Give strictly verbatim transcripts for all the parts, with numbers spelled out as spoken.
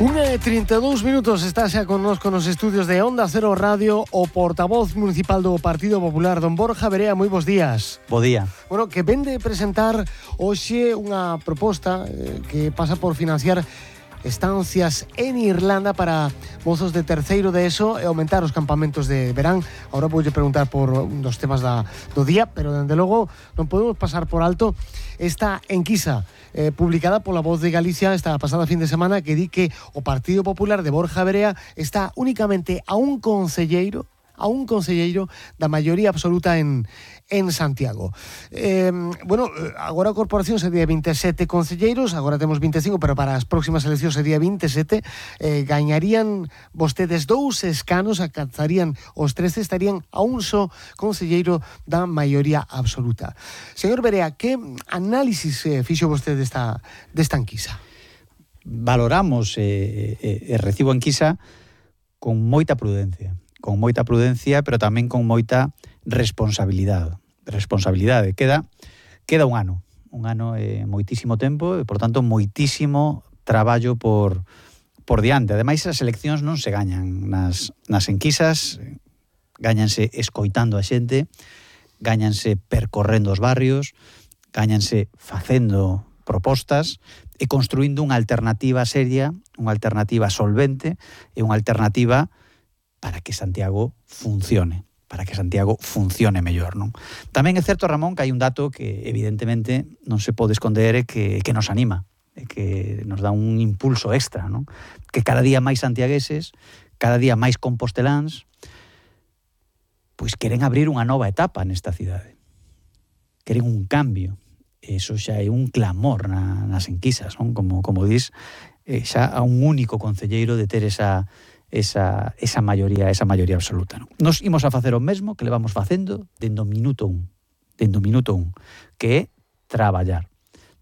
Unha e trinta e dous minutos, está xa connosco nos estudios de Onda Cero Radio o portavoz municipal do Partido Popular, don Borja Verea. Moi bons días. Bo día. Bueno, que vende presentar hoxe unha proposta eh, que pasa por financiar estancias en Irlanda para mozos de terceiro de ESO e aumentar os campamentos de verán. Ahora voulle preguntar por un dos temas da, do día, pero dende logo non podemos pasar por alto esta enquisa eh, publicada pola Voz de Galicia esta pasada fin de semana, que di que o Partido Popular de Borja Verea está únicamente a un concelleiro a un concelleiro da maioría absoluta en, en Santiago. Eh, bueno, agora a corporación sería vinte e sete concelleiros, agora temos vinte e cinco, pero para as próximas eleccións sería vinte e sete. Eh, gañarían vostedes dous escanos, alcanzarían os trece, estarían a un só concelleiro da maioría absoluta. Señor Verea, que análisis eh, fixo vostede desta, desta enquisa? Valoramos e eh, eh, recibo a enquisa con moita prudencia. con moita prudencia, pero tamén con moita responsabilidade. Responsabilidade. Queda, queda un ano. Un ano é moitísimo tempo e, por tanto, moitísimo traballo por, por diante. Ademais, as eleccións non se gañan nas, nas enquisas, gañanse escoitando a xente, gañanse percorrendo os barrios, gañanse facendo propostas e construindo unha alternativa seria, unha alternativa solvente e unha alternativa para que Santiago funcione, para que Santiago funcione mellor, non? Tamén é certo, Ramón, que hai un dato que evidentemente non se pode esconder e que, que nos anima, e que nos dá un impulso extra, non? Que cada día máis santiagueses, cada día máis composteláns, pois queren abrir unha nova etapa nesta cidade. Queren un cambio. Eso xa é un clamor na, nas enquisas, non? Como, como dis, eh, xa a un único concelleiro de ter esa esa, esa maioría, esa maioría absoluta, non? Nos imos a facer o mesmo que levamos facendo dende o minuto un, dende o minuto un, que é traballar.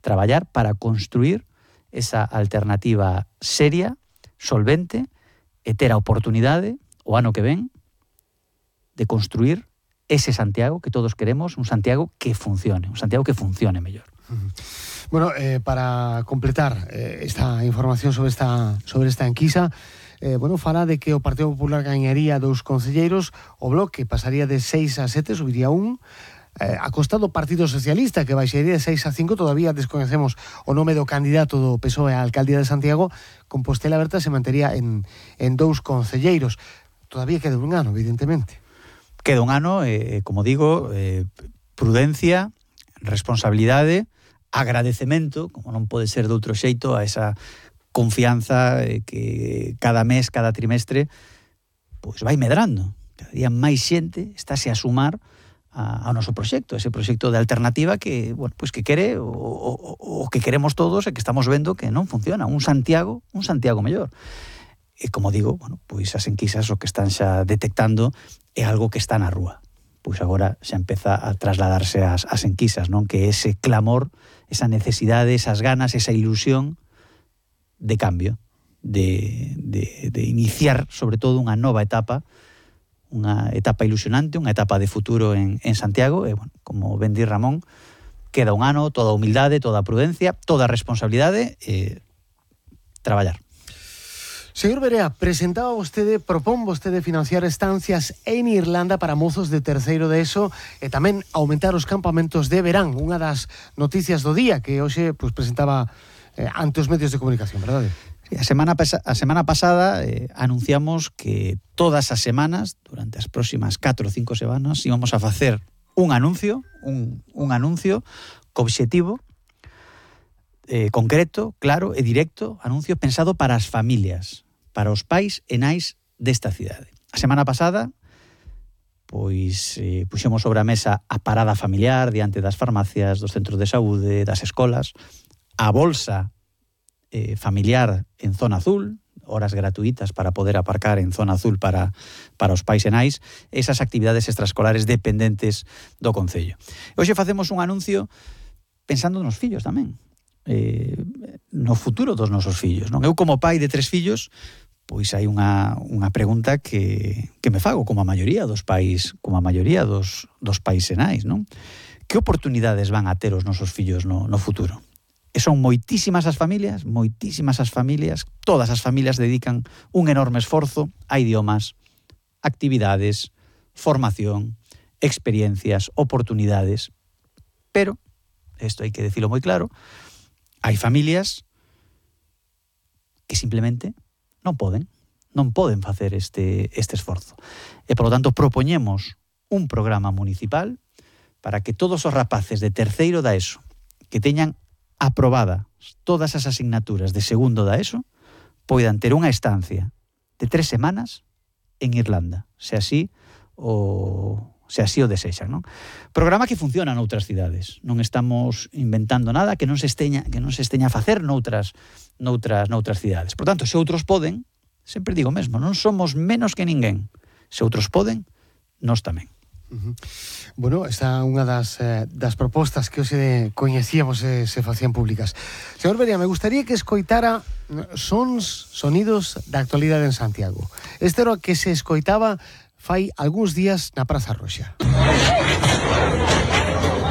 Traballar para construir esa alternativa seria, solvente, e ter a oportunidade, o ano que ven, de construir ese Santiago que todos queremos, un Santiago que funcione, un Santiago que funcione mellor. Bueno, eh, para completar eh, esta información sobre esta, sobre esta enquisa, Eh, bueno, fala de que o Partido Popular gañaría dous concelleiros, o Bloque pasaría de seis a sete, subiría un, eh, a costa do Partido Socialista, que baixaría de seis a cinco. Todavía desconocemos o nome do candidato do P S O E á alcaldía de Santiago. Compostela Berta se mantería en, en dous concelleiros. Todavía queda un ano, evidentemente. Queda un ano, eh, como digo, eh, prudencia, responsabilidade, agradecemento, como non pode ser de outro xeito, a esa confianza eh, que cada mes, cada trimestre, pois vai medrando. Cada día máis xente estáse a sumar a, ao noso proxecto, ese proxecto de alternativa que, bueno, pois que quere o, o, o que queremos todos e que estamos vendo que non funciona. Un Santiago, un Santiago mellor. E como digo, bueno, pois as enquisas o que están xa detectando é algo que está na rúa. Pois agora xa empeza a trasladarse as, as enquisas, non? Que ese clamor, esa necesidade, esas ganas, esa ilusión de cambio, de, de, de iniciar sobre todo unha nova etapa, unha etapa ilusionante, unha etapa de futuro en, en Santiago. E, bueno, como ben di Ramón, queda un ano, toda a humildade, toda a prudencia, toda a responsabilidade e traballar. Señor Verea, presentaba vostede, propón vostede financiar estancias en Irlanda para mozos de terceiro de ESO e tamén aumentar os campamentos de verán, unha das noticias do día que hoxe pues, presentaba eh, ante os medios de comunicación, verdade? A semana, a semana pasada eh, anunciamos que todas as semanas, durante as próximas catro ou cinco semanas, íbamos a facer un anuncio, un, un anuncio co obxectivo eh, concreto, claro e directo, anuncio pensado para as familias, para os pais e nais desta cidade. A semana pasada, pois eh, puxemos sobre a mesa a parada familiar diante das farmacias, dos centros de saúde, das escolas, a bolsa eh, familiar en zona azul, horas gratuitas para poder aparcar en zona azul para, para os pais e nais, esas actividades extraescolares dependentes do Concello. Hoxe facemos un anuncio pensando nos fillos tamén, eh, no futuro dos nosos fillos, non? Eu como pai de tres fillos, pois hai unha, unha pregunta que, que me fago como a maioría dos pais, como a maioría dos, dos pais e nais, non? Que oportunidades van a ter os nosos fillos no, no futuro? que son moitísimas as familias, moitísimas as familias, todas as familias dedican un enorme esforzo a idiomas, actividades, formación, experiencias, oportunidades, pero, isto hai que decirlo moi claro, hai familias que simplemente non poden, non poden facer este, este esforzo. E, polo tanto, propoñemos un programa municipal para que todos os rapaces de terceiro da ESO que teñan aprobadas todas as asignaturas de segundo da ESO poidan ter unha estancia de tres semanas en Irlanda, se así o... se así o desexan, non? Programa que funciona noutras cidades. Non estamos inventando nada que non se esteña, que non se esteña a facer noutras, noutras, noutras cidades. Por tanto, se outros poden, sempre digo mesmo, non somos menos que ninguén. Se outros poden, nós tamén. Uh-huh. Bueno, esta é unha das, eh, das propostas que hoxe coñecíamos e se facían públicas. Señor Beria, me gustaría que escoitara sons, sonidos da actualidade en Santiago. Este era o que se escoitaba fai algúns días na Praza Roxa.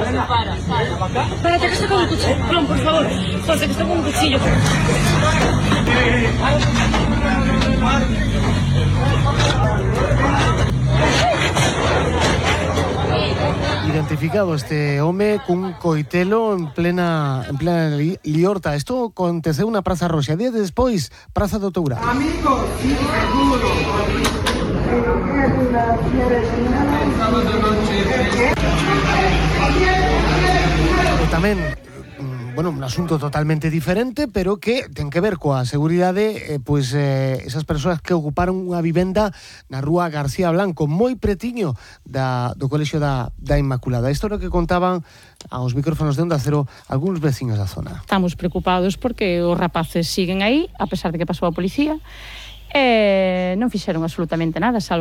Para, para. Espérate que está con un cuchillo. Ron, por favor. José, que está con un cuchillo. Identificado este home cun coitelo en plena en plena li, liorta. Isto aconteceu na Praza Roxa. Días despois, Praza do Tourao. Amigos, sí, seguro. E tamén, bueno, un asunto totalmente diferente, pero que ten que ver coa seguridade, eh, pois eh, esas persoas que ocuparon unha vivenda na rúa García Blanco, moi pretiño da, do colexio da, da Inmaculada. Isto é o que contaban aos micrófonos de Onda Cero algúns veciños da zona. Estamos preocupados porque os rapaces siguen aí, a pesar de que pasou a policía, e non fixeron absolutamente nada, salvo